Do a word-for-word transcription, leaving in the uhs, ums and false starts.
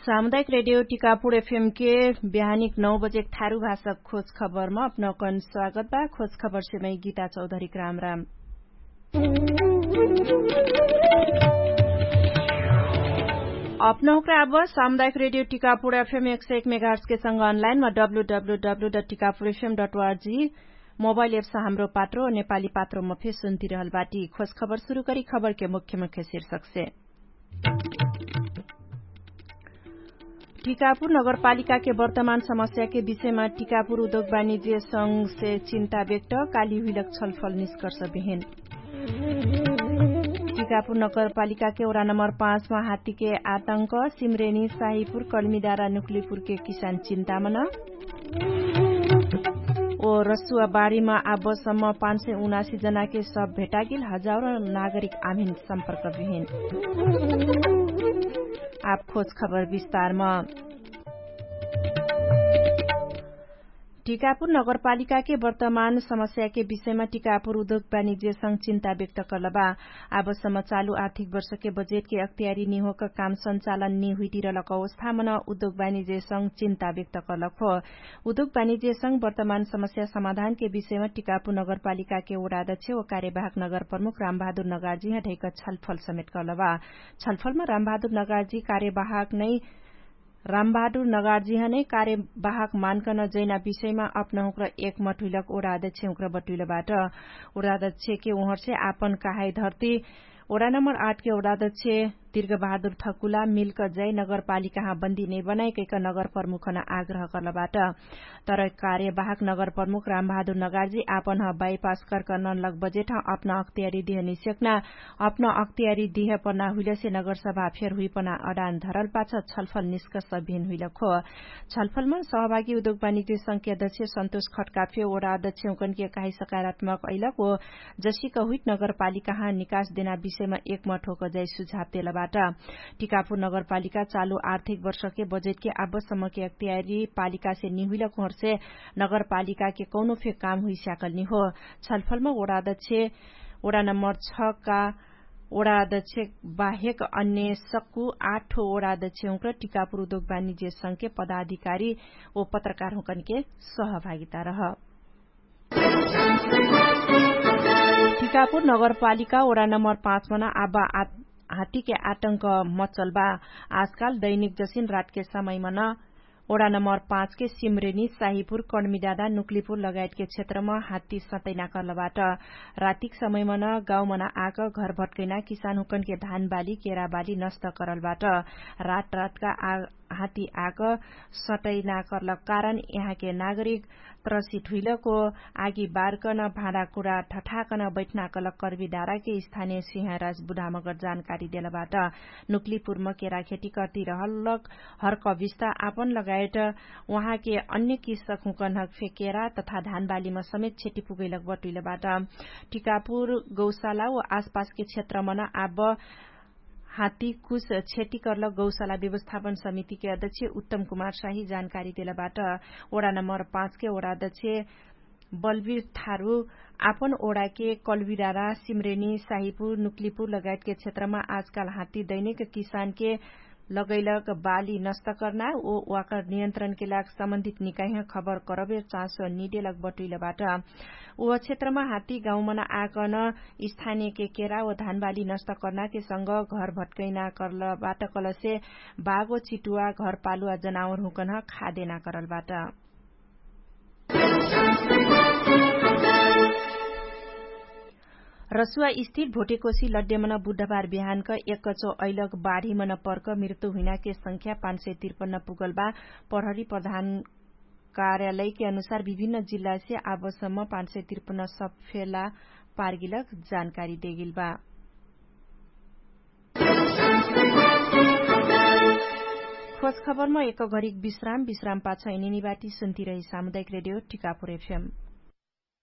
सामुदायिक रेडियो टिकापुर एफएम के बिहानिक नौ बजेक थारु भाषक खोज खबरमा अपनौकन स्वागत बा। खोज खबर सेमै गीता चौधरीक राम राम। अपनौकरा अब सामुदायिक रेडियो टिकापुर एफएम एक सय एक मेगाहर्सके संग अनलाइनमा W W W dot Tikapur F M dot O R G mobile apps Hamro Patro नेपाली पात्रोमा फे सुन्तिरहल बाटी। खोज खबर सुरु करी खबरके मुख्य मुख्य शीर्षकसे। टिकापुर नगरपालिकाके वर्तमान समस्याके विषयमा टिकापुर उद्योग वाणिज्य संघसे चिन्ता व्यक्त। काली हुइलक छलफल निष्कर्ष बिहिन। टिकापुर नगरपालिकाके ओरा नम्बर पाँचमा हात्तीके आतंक। सिम्रेनी साहिपुर कलमिदारा नुक्लिपुरके किसान चिन्तामन। ओ रसुवा बारीमा आबसम्म पाँच सय उनासी जनाके सब भेटागिल। हजारो नागरिक आमिन सम्पर्क बिहिन। आप खोज खबर विस्तारमा। टिकापुर नगरपालिकाके वर्तमान समस्याके विषयमा टिकापुर उद्योग वाणिज्य संग चिन्ता व्यक्त करलबा। आबसम्म चालु आर्थिक वर्षके बजेटके अक्तियारी निहोक काम सञ्चालन निहुइटिरलक अवस्थामन उद्योग वाणिज्य संग चिन्ता व्यक्त करलक हो। उद्योग वाणिज्य संग वर्तमान समस्या समाधानके विषयमा टिकापुर नगरपालिकाके ओरादक्ष ओ कार्यवाहक नगर प्रमुख रामबहादुर नगार्जी हटैक छलफल समेट करलबा। छलफलमा रामबहादुर नगार्जी कार्यवाहक नै रामबहादुर नगार्जीह नै कार्यवाहक मानकन जैना विषयमा अपनहुँक्र एकमठ हुइलक ओरादक्ष हुँक्र बटुइलबाट। ओरादक्ष के उहर्से आपन कहाई धर्ती ओरा नम्बर आठ के ओरादक्ष तिर्गबहादुर ठकुला मिल्क जै नगरपालिकाह बन्दी नै बनाइकैक नगर प्रमुखन आग्रह करलबाट। तर कार्यवाहक नगर प्रमुख रामबहादुर नगार्जी आपनह बाइपास करकनन लग बजेटह अपना अक्तियारी दिह निस्यक्ना अपना अक्तियारी दिह पना हुइलसे नगरसभा फेर हुइपना अडान धरल पाछ छलफल निस्कस भिन हुइलक हो। छलफलमा सहभागी उद्योग वाणिज्य संख्या अध्यक्ष सन्तोष खट्काफे ओरा अध्यक्ष हुँकनके कहाई सकारात्मक अइलक ओ जसिक हुइट नगरपालिकाह निकास देना विषयमा एकमठ होक जाइ सुझाव देलबाट। टिकापुर नगरपालिका चालु आर्थिक वर्षके बजेटके आबसम्मके अक्तियारी पालिकासे निहुइलक होर्से नगरपालिकाके कौनो फे काम हुइस्याकल निहो। छलफलमा ओरा अध्यक्ष ओरा नम्बर छ का ओडा अध्यक्ष बाहेक अन्य सक्कु आठो ओडा अध्यक्ष हुँक्र टिकापुर उद्योग वाणिज्य संघके पदाधिकारी ओ पत्रकार हुँकनके सहभागिता रह। टिकापुर नगरपालिका ओडा नम्बर पाँच मन आबा हात्तीके आतंक मचलबा। आजकाल दैनिक जसिन रातके समयमन ओडा नम्बर पाँचके सिम्रेनी साहिपुर कणमिडाडा नुक्लिपुर लगायतके क्षेत्रमा हात्ती सटैना करलबाट। रातिक समयमन गाउँमन आक घर भट्कैना किसान हुँकनके धानबाली केराबाली नष्ट करलबाट। रात रातका हात्ती आक सटैना करलक कारण यहाँके नागरिक त्रसित हुइलको आगी बारकन भाँडाकुरा ठठाकन बैठना कलक कर्बी डाराके स्थानिय सिंहराज बुढामगर जानकारी देलबाट। नुक्लिपुरम केरा खेती कर्ती रहलक हर्क विस्ता आपन लगायत उहाँके अन्य किस्सक हुँकन्हक फे केरा तथा धानबालीम समेत क्षति पुगैलक बटुइलबाट। टिकापुर गौशाला व आसपासके क्षेत्रमन आब हात्ती कुछ क्षति कर्लक गौशाला व्यवस्थापन समितिके अध्यक्ष उत्तम कुमार साही जानकारी देलबाट। ओडा नम्बर पाँचके ओडा अध्यक्ष बलवीर थारु आपन ओडाके कलविरारा सिम्रेनी साहिपुर नुक्लिपुर लगायतके क्षेत्रमा आजकाल हात्ती दैनिक किसानके लगैलक बाली नष्ट कर्ना ओ वाकर नियन्त्रणके लाग सम्बन्धित निकाइह खबर करबे चाँसो निदेलक बटुइलबाट। ओ क्षेत्रमा हात्ती गाउँमन आकन स्थानियके केरा ओ धानबाली नष्ट कर्नाके संग घर भट्कैना करलबाट कलसे बागो चिटुवा घरपालुवा जनावर हुँकन खादेना करलबाट। रसुवा स्थिर भोटेकोसी लड्डेमन बुधबार बिहानक एक्कचो अइलक बाढीमन पर्क मृत्यु हुइनाके संख्या पाँच सय त्रिपन्न पुगलबा। प्रहरी प्रधान कार्यालयके अनुसार विभिन्न जिल्लासे आबसम्म पाँच सय त्रिपन्न सफेला पार्गिलक जानकारी देगिलबा। खोज खबरमा एक घरिक विश्राम विश्राम पाछ इनिनिबाटी सुन्तिरही सामुदायिक रेडियो टिकापुर एफएम।